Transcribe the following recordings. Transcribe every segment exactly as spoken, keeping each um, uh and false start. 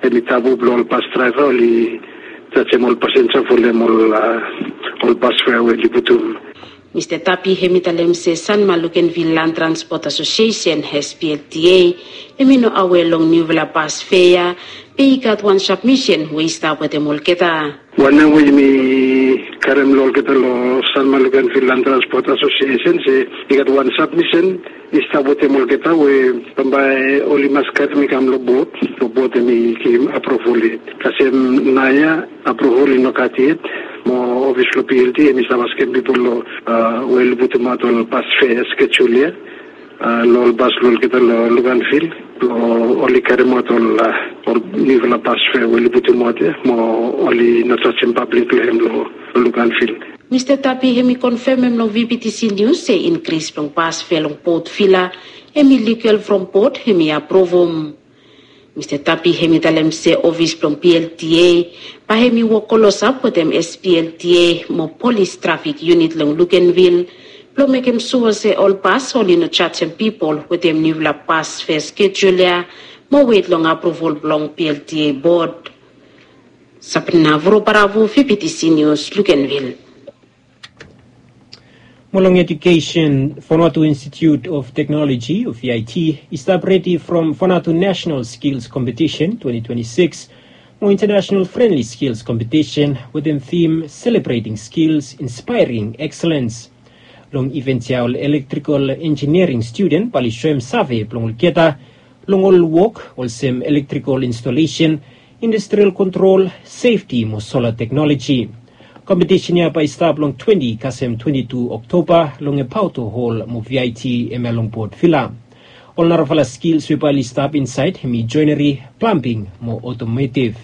Em i tabu blong ol bas draeva oli jajem ol pasenja folem ol bas fea we oli putum. Mista Tapi hem i talem se Sanma Lukenvil Land Transport Asosiesen, S P L T A, hem i no awe long niufala bas fea ya, be i gat wan sabmisen we i stap wetem olgeta. Wanem we yumi karem long olgeta long Sanma Lukenvil Land Transport Asosiesen se i gat wan sabmisen i stap wetem olgeta we bambae oli mas karem i kam long bot, long bot hem i givim apruval yet. Kasem naoia apruval i no gat yet, mo ofis blong P L T hem i stap askem pipol long we oli putumaot ol bas fea skejul ya long ol bas blong olgeta long Luganvil blong oli karemaot ol niufala bas fea we oli putumaot ya mo oli no jajem pablik long hem long Luganvil. Mista Tapi hem i konfemem long V B T C News se inkris blong bas fea long Port Vila hem i ligal from bot hem i apruvum. Mista Tapi hem i talem se ofis blong P L T A bae hem i wok klosap wetem S P L T A mo polis trafik yunit long Lukenvil blong mekem sua se ol bas oli no jajem pipol wetem niufala bas fea skejul ya mo wet long apruval blong P L T A bot. Sabrina Vurobaravu, V B T C News, Lukenvil. Mo long edukesen, Vanuatu Institute of Technology o V I T i stap redi from Vanuatu National Skills Competition twenty twenty-six mo International Friendly Skills Competition wetem thim Celebrating Skills, Inspiring Excellence. Long iven ya ol elektrikal enjiniering studen bae oli soem save blong olgeta long ol wok olsem elektrikal instolesen, industrial kontrol, sefti mo sola teknoloji. Kompetisen ya bae i stap long twenti kasem twenti tu Oktoba long Epauto Hol mo V I T hemia long Port Vila. Ol narafala skils we bae oli stap insaed hem i joeneri, plambing mo otometiv.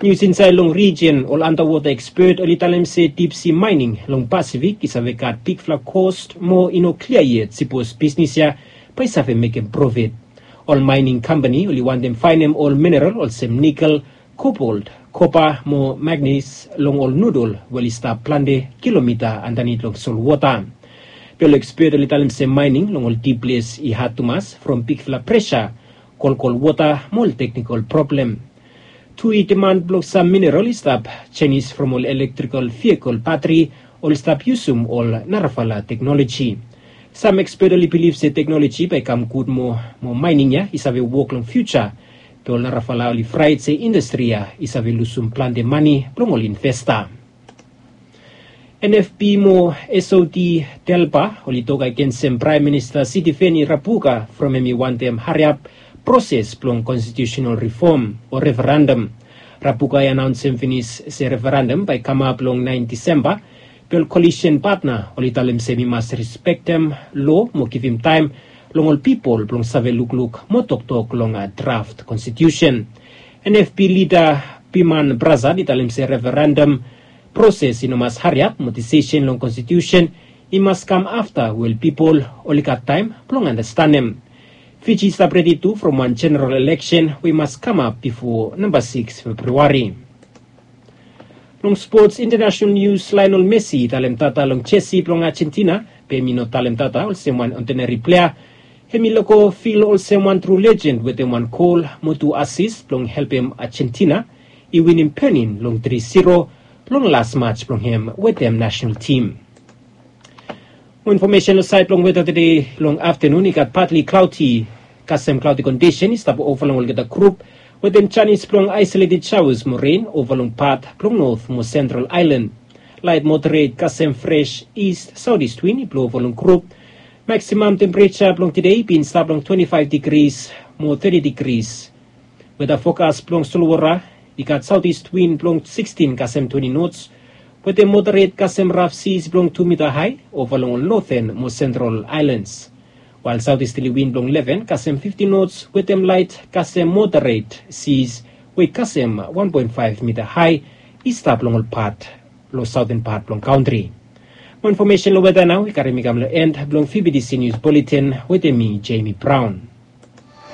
Nius insaed long rijen, ol antawota ekspet oli talem se dipsi maening long Pasifik i save gat bigfala kost mo i no klia yet sipos bisnis ya bae i save mekem profit. Ol maening kampani oli wantem faenem ol mineral olsem nikel, kobolt, kopa mo magnis long ol nudol we oli stap plante kilomita andanit long solwota. Be ol ekspet oli talem se maening long ol dip ples i had tumas from bigfala presa, kolkol wota mo ol teknikol problem. Tu i diman blong sam mineral i stap jenis from ol elektrikal vehikel batri oli stap yusum ol narafala teknoloji. Sam ekspet oli bilif se teknoloji bae i kam gud moa mo maening ya i save wok long fiuja. Be ol narafala oli fraet se indastri ya i save lusum plante mane blong ol investa. N F P mo S O T Delpa oli tok agensem Praem Minista Sitiveni Rabuka from hem i wantem hariap proses blong konstitiusenal rifom o referendam. Rabuka i anaonsem finis se referendam bae i kamap long naen Disemba, be ol kolisen patna oli talem se hem i mas rispektem loa mo givim taem long ol pipol blong save lukluk mo toktok long draft konstitiusen. N F P lida Biman Prasad i talem se referendam proses i no mas hariap mo disisen long konstitiusen i mas kam afta we ol pipol oli gat taem blong andastanem. Fiji i stap redi tu from wan jeneral eleksen we i mas kamap bifo namba sikis Februari. Long spots, intanasenal nius, Lionel Messi i talem tata long jesi blong Ajentina, be hem i no talem tata olsem wan odineri plea. Hem i lego fil olsem wan tru lejend wetem wan gol mo tu asis blong helpem Ajentina i winim Benin long tri siro long las maj blong hem wetem nasenal tim. Mo infomesen long saed blong weta tede, long aftanun i gat patli klaoti kasem klaoti kondisen i stap ova long olgeta grup wetem janis blong aesoleted shaoas mo ren ova long pat blong not mo sentral aelan. Laet moderet kasem fres ist saotis win i blo ova long grup. Maksimam tempereja blong tede i bin stap long twenti faef digris mo teti digris. Weta fokas blong solwota i gat saotis win blong sikstin kasem twenti nots wetem moderet kasem raf sis blong tu mita hae ova long ol noten mo sentral aelans. Wael saotis teli win blong leven kasem fiftin nots wetem laet kasem moderet sis we i kasem wan poen faef mita hae i stap long ol pat long saoten pat blong kantri. Mo infomesen long weta nao i karem mi kam long en blong VBTC Nius Buletin wetem mi, Jemi Braon.